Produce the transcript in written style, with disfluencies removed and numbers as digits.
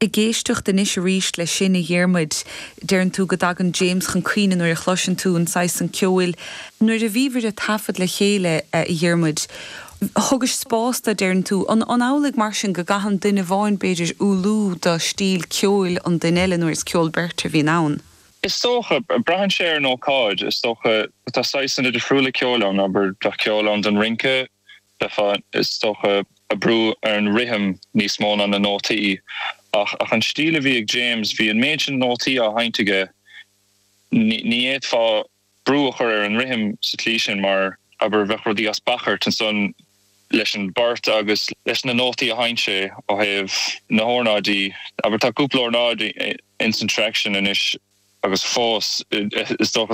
Ag éisteacht anois arís leis sin, a Dhiarmuid, deireann tú go dtagann James chun cuimhne nuair a chloiseann tú an saghas san ceoil. Nuair a bhíobhair ag taifead le chéile, a Dhiarmuid, thugais spás dó, deireann tú. An amhlaidh mar sin go gcaitheann duine amháin, b'fhéidir, ualú do stíl ceoil an duine eile nuair is ceol beirte a bhíonn ann? Is dócha. Braitheann sé ar an ócáid. Is dócha. Tá saghsanna difriúla ceoil ann, abair, bheadh ceol ann don rince, Bheifeá, is dócha, ag brú ar an rithim níos mó ná na nótaí. Ach an stíl a bhí ag James, bhí an méid sin nótaí á sheinnt aige, ní fhéadfá brú a chur ar an rithim sa tslí sin mar, abair, bheadh rudaí as beachairt ansan leis an bport agus leis na nótaí a sheinn sé ó thaobh na hornáidí. Abair, tá cúpla ornáid ins an traic sin anois agus fós, is dócha.